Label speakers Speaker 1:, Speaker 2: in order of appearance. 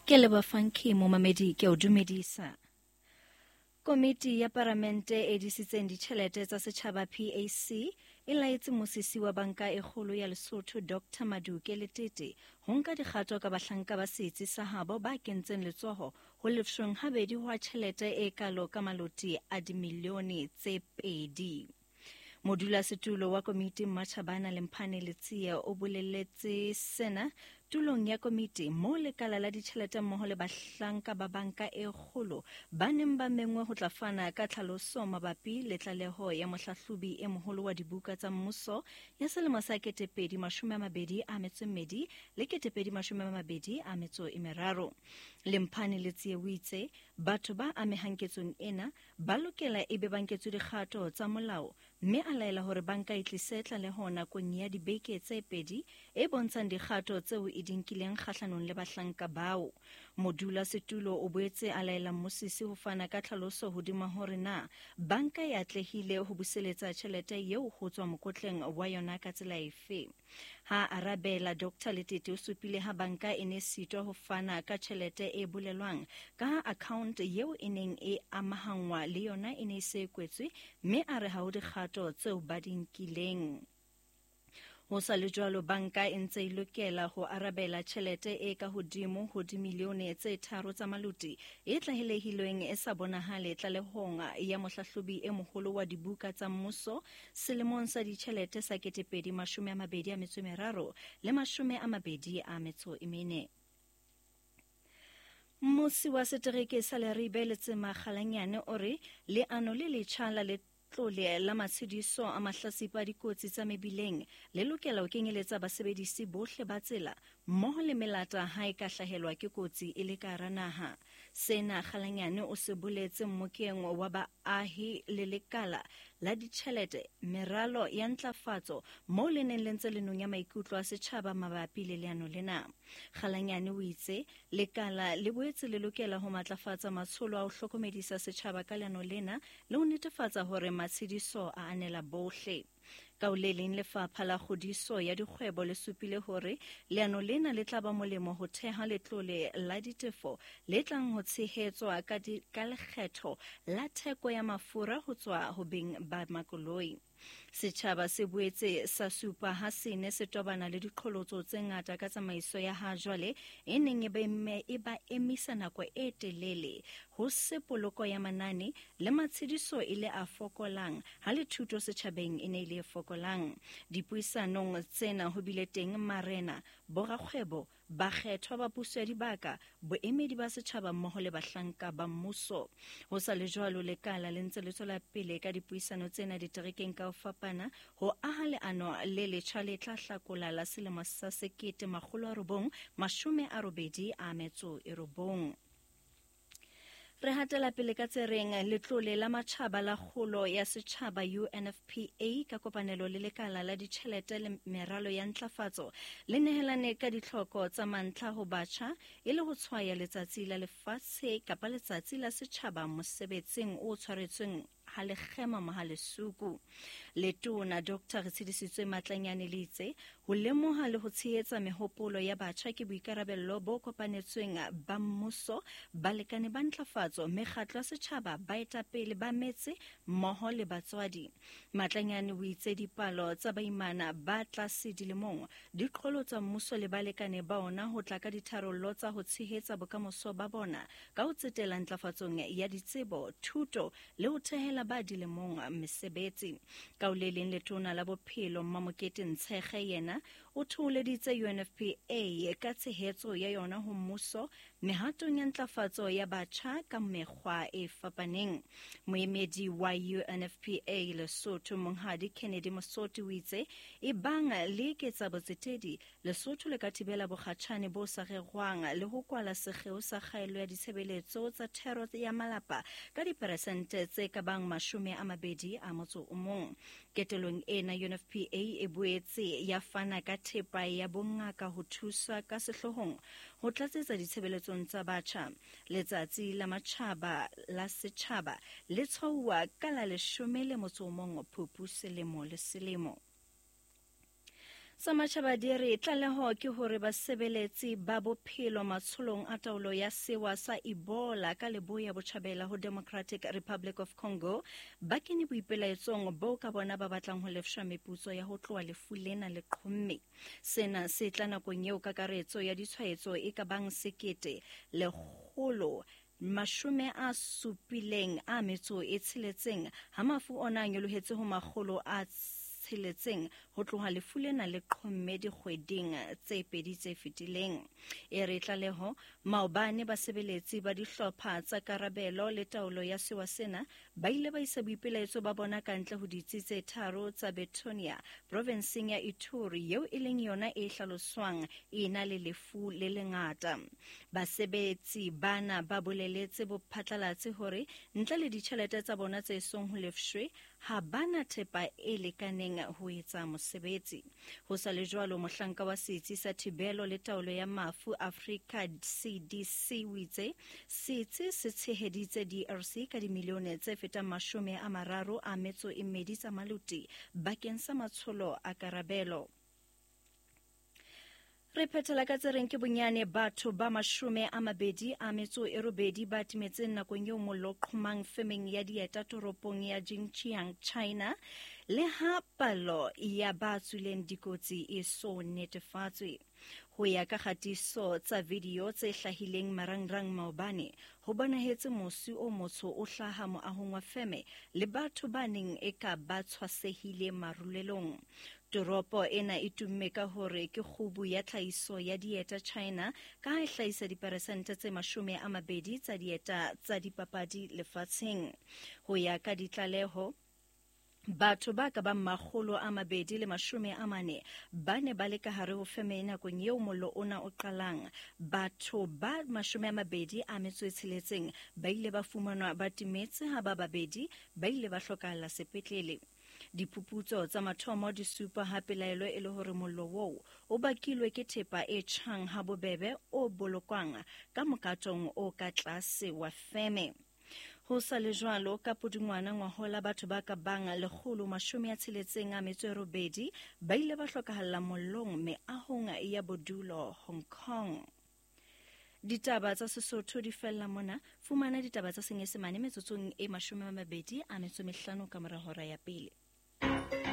Speaker 1: Ke leboha Funky momamedi ke o dumedisa. Komiti ya Paramente e disitseng ditjhelete tsa setjhaba PAC e laetse mmusisi wa banka e kgolo ya Lesotho Dr Maduke Letete ho nka dikgato ka bahlanka ba setsi sa habo ba kentseng letsoho ho lefshweng habedi hwa tjhelete e kalo ka maloti a dimilione tse pedi. Modulasetulo wa komiti Mmatjhabana Lemphane Letsie o boleletse sena tulong ya komiti moo lekala la ditjhelete mmoho le bahlanka ba banka e kgolo ba neng ba mengwe ho tla fana ka tlhaloso mabapi le tlaleho ya mohlahlobi e moholo wa dibuka tsa mmuso ya selemo sa 2022 le 2023. Lemphane Letsie o itse batho ba amehang ketsong ena ba lokela e be ba nketswe dikgato tsa molao mme a laela hore banka e tlise tlaleho nakong ya dibeke tse pedi e bontshang dikgato tseo e di nkileng kgahlanong le bahlanka bao. Modulasetulo o boetse a laela mmusisi ho fana ka tlhaloso hodima hore na banka e atlehile ho buseletsa tjhelete eo ho tswa mokotleng wa yona ka tsela efe. Ha a arabela, Dr Letete o supile ha banka e ne sitwa ho fana ka tjhelete e bolelwang ka ha account eo e neng e amahangwa le yona e ne e se e kwetswe, mme a re ha ho dikgato tseo ba di nkileng. Ho sa le jwalo, banka e ntse e lokela ho arabela tjhelete e ka hodimo ho dimilione tse tharo tsa maloti e tlahelehilweng e sa bonahale tlalehong ya mohlahlobi e moholo wa dibuka tsa mmuso selemong sa ditjhelete sa 2023 le 24. Mmusi wa setereke sa Leribe Letsema Kgalanyane o re leano le letjha la letlole la matshediso a mahlasipa a dikotsi tsa mebileng le lokela ho kenyeletsa basebedisi bohle ba tsela mmoho le melata ha e ka hlahelwa ke kotsi e le ka hara naha. Sena Kgalanyane o se boletse mmokeng wa baahi le lekala la ditjhelete, meralo ya ntlafatso moo le neng le ntse le nonya maikutlo a setjhaba mabapi le leano lena. Kgalanyane o itse lekala le boetse le lokela ho matlafatsa matsholo a ho hlokomedisa setjhaba ka leano lena le ho netefatsa hore matshediso a anela bohle. Ka ho le leng, lefapha la kgodiso ya dikgwebo le supile hore leano lena le tla ba molemo ho theha letlole la ditefo le tlang ho tshehetswa ka, ka lekgetho la theko ya mafura ho tswa ho beng ba makoloi. Setjhaba se boetse sa supa ha se ne se tobana le diqholotso tse ngata ka tsamaiso ya ha jwale e neng e ba emisa nako e telele, ho se poloko ya manane le matshediso e le a fokolang ha le thuto setjhabeng e ne e le e fokolang. Dipuisanong tsena ho bile teng marena, borakgwebo, bakgethwa ba puso ya dibaka, boemedi ba setjhaba mmoho le bahlanka ba mmuso. Ho sa le jwalo, lekala le ntse le tswela pele ka dipuisano tsena diterekeng ka ho fapana ho aha leano le letjha le tla hlakola la selemo sa 1989. Re hatela pele ka tse reng letlole la matjhaba la kgolo ya setjhaba UNFPA ka kopanelo le lekala la ditjhelete le meralo ya ntlafatso le nehelane ka ditlhoko tsa mantlha ho batjha e le ho tshwaya letsatsi la lefatshe kapa letsatsi la setjhaba mosebetsing o tshwaretsweng ha lekgema Mohalesuku. Letona Dr. Retshedisitswe Matlanyane le itse ho lemoha le ho tshehetsa mehopolo ya batjha ke boikarabello bo kopanetsweng ba mmuso, balekane ba ntlafatso, mekgatlo ya setjhaba, baetapele ba metse mmoho le batswadi. Matlanyane o itse dipalo tsa baimana ba tlase dilemong di qholotsa mmuso le balekane ba ona ho tla ka ditharollo tsa ho tshehetsa bokamoso ba bona ka ho tsetela ntlafatsong ya ditsebo, thuto le ho thehela ba dilemong mesebetsi. Ka ho le leng, letona la bophelo Mmamokete Ntshege yena o thoholeditse UNFPA ka tshehetso ya yona ho mmuso mehatong ya ntlafatso ya batjha ka mekgwa e fapaneng. Moemedi wa UNFPA Lesotho Monghadi Kennedy Mosoti o itse e bang le eketsa botsetedi, Lesotho le ka thibela bokgatjhane bo sa rerwang le ho kwala sekgeo sa kgaello ya ditshebeletso tsa thero ya malapa ka diperesente tse ka bang 21. Ketelong ena, UNFPA e boetse ya fana ka thepa ya bongaka ho thusa ka sehloohong ho tlatsetsa ditshebeletsong tsa batjha. Letsatsi la matjhaba la setjhaba le tshwauwa ka la 11 Phupu selemo le selemo. Tsa matjhaba di re tlaleho ke hore basebeletsi ba bophelo matsholong a taolo ya sewa sa Ebola ka leboya botjhabela ho Democratic Republic of Congo ba kene boipelaetsong boo ka bona ba batlang ho lefshwa meputso ya ho tloha lefu lena le qhomme. Sena se tla nakong eo kakaretso ya ditshwaetso e ka bang 1,776 ha mafu ona a nyolohetse ho 600 ho tloha lefu lena le qhomme dikgweding tse pedi tse fetileng. E re tlaleho maobane basebeletsi ba dihlopha tsa karabelo le taolo ya sewa sena ba ile ba isa boipelaetso ba bona kantle ho ditsi tse tharo tsa Betonia provenseng ya Ituri eo e leng yona e hlaloswang e na le lefu le lengata. Basebetsi bana ba boleletse bophatlalatsi hore ntle le ditjhelete tsa bona tse song ho lefshwe ha bana thepa e lekaneng ho etsa mosebetsi. Ho sa le jwalo, mohlanka wa setsi sa thibelo le taolo ya mafu Africa CDC o itse setsi se tsheheditse DRC ka dimilione tse fetang 32 tsa maluti bakeng sa matsholo a karabelo. Re phethela ka tse reng ke bonyane batho ba 28 ba timetseng nakong eo mollo o qhomang femeng ya dieta toropong ya Jinjiang, China, le ha palo ya ba tswileng dikotsi e so netefatswe. Ho ya ka kgatiso tsa video tse hlahileng marangrang maobane, ho bonahetse mosi o motsho o hlaha moahong wa feme le batho ba neng e ka ba tshwasehile marulelong. Toropo ena e tumme ka hore ke kgubu ya tlhahiso ya dieta China ka ha e hlahisa diperesente tse 20 tsa dieta tsa dipapadi lefatsheng. Ho ya ka ditlaleho, batho ba ka bang 240 ba ne ba le ka hare ho feme nakong eo mollo ona o qalang. Batho ba 26 ba ile ba fumanwa ba timetse ha ba babedi ba ile ba hlokahala sepetlele. Diphuputso tsa mathomo di supa ha pelaelo e le hore mollo oo o bakilwe ke thepa e tjhang ha bobebe o bolokwang ka mokatong o ka tlase wa feme. Ho sa le jwalo, ka Pudungwana ngwahola batho ba ka bang 168 ba ile ba hlokahalla mollong meahong ya bodulo Hong Kong. Ditaba tsa Sesotho di fella mona. Fumana ditaba tsa Senyesemane metsotsong e 25 ka mora hora ya pele.